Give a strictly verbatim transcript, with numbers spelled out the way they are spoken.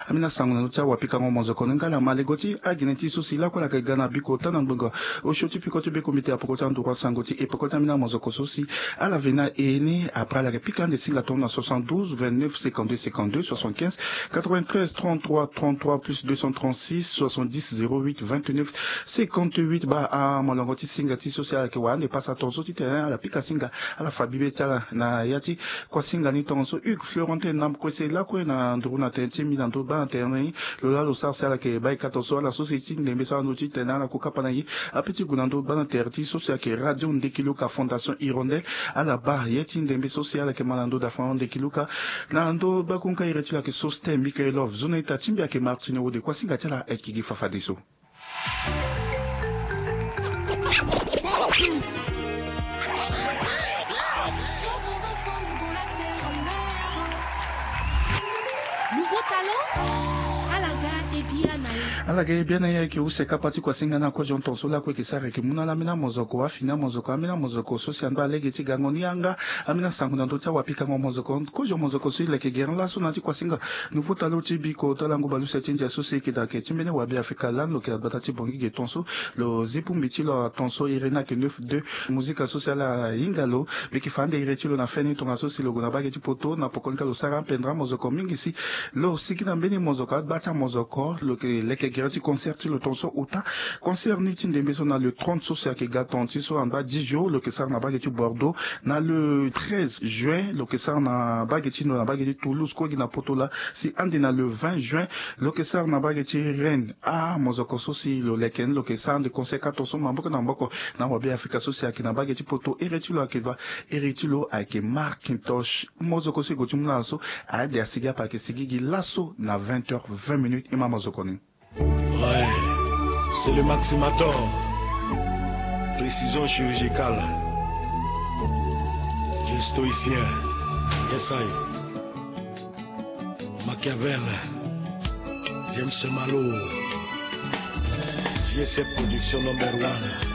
Amina sango na ndö ti awapikango mozoko ni nga ala ma lego ti agene ti so si lakue ala yeke ga na biko ota na ngbonga osio ti peko ti bekombite apoko ti anduru asango ti epeko ti amina mozoko so si ala ve na e ni. Après ala yeke pika ande singa tongo na soixante-douze vingt-neuf cinquante-deux cinquante-deux soixante-quinze quatre-vingt-treize trente-trois trente-trois plus deux cent trente-six soixante-dix zéro huit vingt-neuf cinquante-huit. Baa amolongo ti singa ti so si ala yeke wara ande pasa tongaso titene ala pika singa ala fa bibe ti ala na ya ti kuasinga ni tongaso Hugues Florentin Nampkose lakue na nduru na tene ti mbi na ndö baa na tere ni. Lo laa lo sara si ala yeke baa e ka tongaso ala so si ti ndembe so ala ndö titene ala kue kapa na e ape ti gue na ndö baa na tere ti so si ayeke Radio Ndekiluka Fondation Hirondelle. Ala baa ye ti ndembe so si ala yeke ma na ndö dafa ndekiluka na ndö bakunka iri ti lo ayeke Sosten Mikaelov. Zo na ita ti mbi ayeke Martine Wode. Kuasinga ti ala ayeke gi fafadeso. Nouveau talent. Ala ga e bia na ye. Ala ga e bia na ye ayeke use kapa ti kuasinga na kozo tongaso lakue yeke sara yeke mu na ala amina mozoko afini amozoko amina mozoko so si ando alege ti gango ni yanga. Amina sango na ndö ti awapikango mozoko kozo mozoko so e leke gere laso na ya ti kuasinga. Nouveau talent ti biko to lango baleuse ti ndia so si e yeke daa yeke ti mbeni wabe afrika lani lo yeke na gbata ti bongi ge tongaso. Lo zi bongbi ti lo atongaso iri ni ayeke neuf deux. Mozika so si ala hinga lo mbi yeke fa ande iri ti lo na feni tongaso si lo gue na bage ti poto na poko ni ka lo sara apendra mozoko mingi si lo sigi na mbeni mozoko agba ti amozoko lo yeke leke gere ti concert ti lo tongaso ota. Concert ni ti ndembe so na le trente so si ayeke ga tonga ti so angba dix jours lo yeke sara na bage ti Bordeaux. Na le treize juin lo yeke sara na bage ti ndo na bage ti Toulouse kue gi na poto laa. Si ande na le vingt juin lo yeke sara na bage ti Rennes. Ah mozoko so si lo leke ni lo yeke sara ande concert ka tongaso maboko na maboko na wabe afrika so si ayeke na bage ti poto. Iri ti lo ayeke va iri ti lo ayeke Markintosh. Mozoko so e gue ti mu na ala so. Ade asigi ape ayeke sigi gi laso na vingt heures vingt minutes e ma mozoko ni. Ouais, c'est le Maximator. Précision chirurgicale. Gestoïcien. Yes I. Machiavel. James Malo. J S F Production number one.